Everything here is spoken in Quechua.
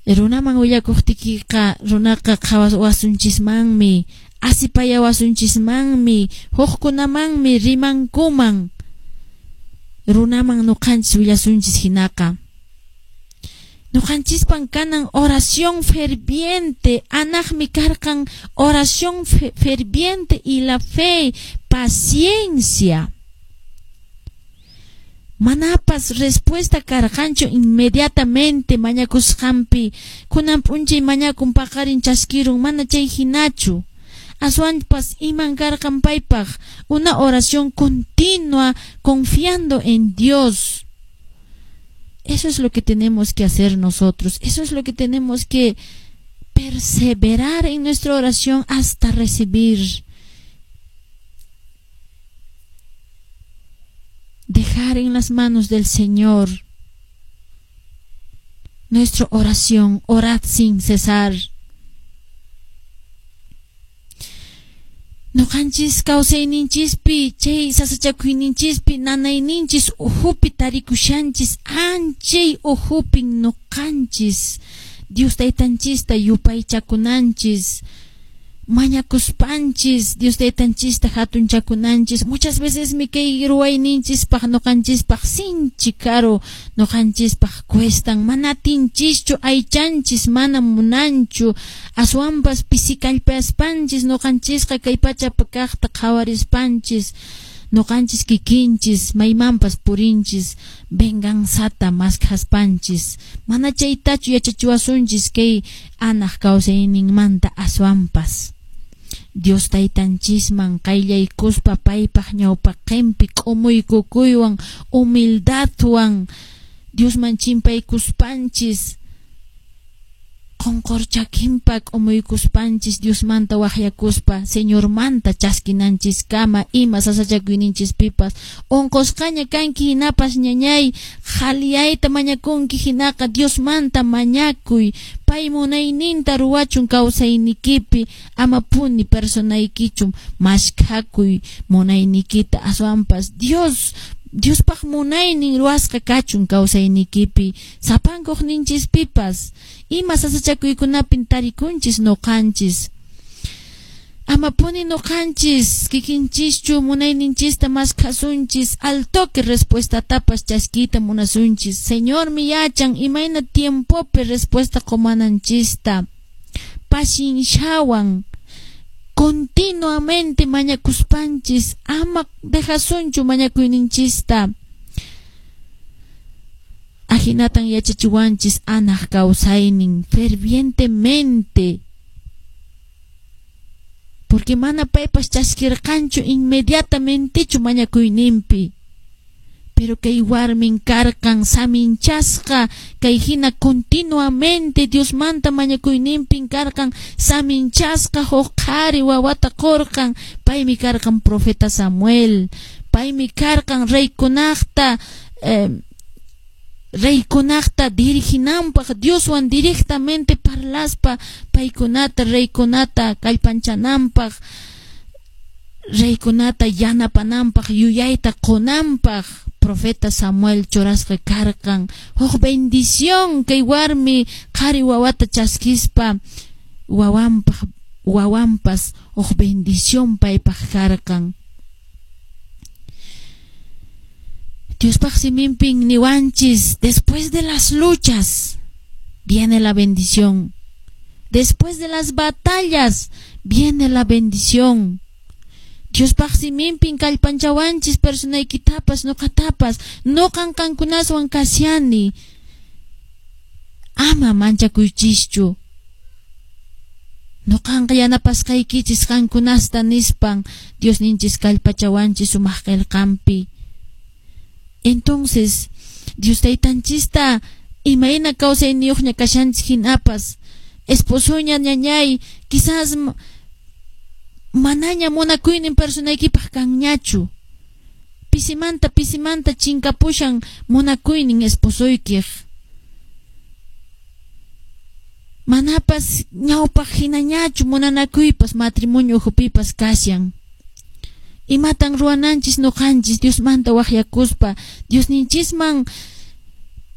Runaman willakuqtiykiqa runaqa qhawawasunchismanmi, asipayawasunchismanmi, hukkunamanmi rimankuman. Runaman nuqanchis willasunchis hinaqa. Nuqanchispan kanan oración ferviente, anaqmi karqan oración ferviente y la fe, paciencia. Manapas respuesta karqanchu inmediatamente mañakusqanpi, kunan p'unchay mañakun paqarin chaskirun, mana chay hinachu. Aswanpas iman karqan paypaq una oración continua confiando en Dios. Eso es lo que tenemos que hacer nosotros. Eso es lo que tenemos que perseverar en nuestra oración hasta recibir. Dejar en las manos del Señor nuestra oración. Orad sin cesar. Nuqanchis kawsayninchispi, chay sasachakuyninchispi, nanayninchis uhupi tarikushanchis, anchay uhupin nuqanchis, Dios taytanchista yupaychakunanchis, mañakuspanchis, Dios taytanchista hatunchakunanchis. Muchas veces mi kay ruwayninchispaq nuqanchispaq sinchi karu, nuqanchispaq cuestan, mana atinchischu, aychanchis mana munanchu, aswanpas pisikallpaspanchis nuqanchisqa kay pachapi kaqta qhawarispanchis, nuqanchis kikinchis maymanpas purinchis, venganzata maskhaspanchis, mana chaytachu yachachiwasunchis kay anaq kawsayninmanta aswanpas. Dios taytanchisman qayllaykuspa paypaq ñawpaqinpi k'umuykukuywan, humildadwan Diosman chimpaykuspanchis, qonqorchakinpa k'umuykuspanchis Diosmanta waqyakuspa Señormanta chaskinanchiskama ima sasachakuyninchispipas. Unqusqaña kanki hinapas ñañay, qhaliyayta mañakunki hinaqa Diosmanta mañakuy, pay munayninta ruwachun kawsaynikipi, amapuni personaykichu maskhakuy munaynikita, aswanpas Diospaq munaynin ruwasqa kachun kawsaynikipi, sapankuqninchispipas, ima sasachakuykunapin tarikunchis nuqanchis. Amapuni nuqanchis kikinchischu munayninchista maskhasunchis, al toque respuestatapas chaskiyta munasunchis. Señormi yachan imayna tiempopi respuesta qumananchista. Pacienciawan continuamente mañakuspanchis, ama dejasunchu mañakuyninchista. Ahinatan yachachiwanchis anaq kawsaynin fervientemente, porque mana paypas chaskirqanchu inmediatamentechu mañakuyninpi. Pero kay warmin karqan saminchasqa, kay hina continuamente Diosmanta mañakuyninpin karqan saminchasqa, huk qhari wawata qurqan. Paymi karqan profeta Samuel, paymi karqan reykunaqta diriginanpaq, Dioswan directamente parlaspa paykunata reykunata kallpanchananpaq, reykunata yanapananpaq, yuyayta qunanpaq profeta Samuel churasqa karqan. Huk bendición kay warmi qhari wawata chaskispa wawanpas huk bendición paypaq karqan. Diospaq siminpin niwanchis, después de las luchas viene la bendición. Después de las batallas viene la bendición. Diospaq siminpin kallpanchawanchis personaykitapas nuqatapas, nuqan qankunaswan kashani. Ama manchakuychischu. Nuqanqa yanapasqaykichis qankunasta nispan Diosninchis kallpachawanchis sumaq qillqanpi. Entonces, Dios taytanchista imayna kawsayniyuqña kashanchis hinapas, esposoña ñañay, quizás manaña munakuynin personaykipaq kanñachu. Pisimanta pisimanta chinkapushan munakuynin esposoykiq. Manapas ñawpaq hinañachu munanakuypas matrimonio ukhupipas kashan. Imatan ruwananchis nuqanchis Diosmanta waqyakuspa, Diosninchisman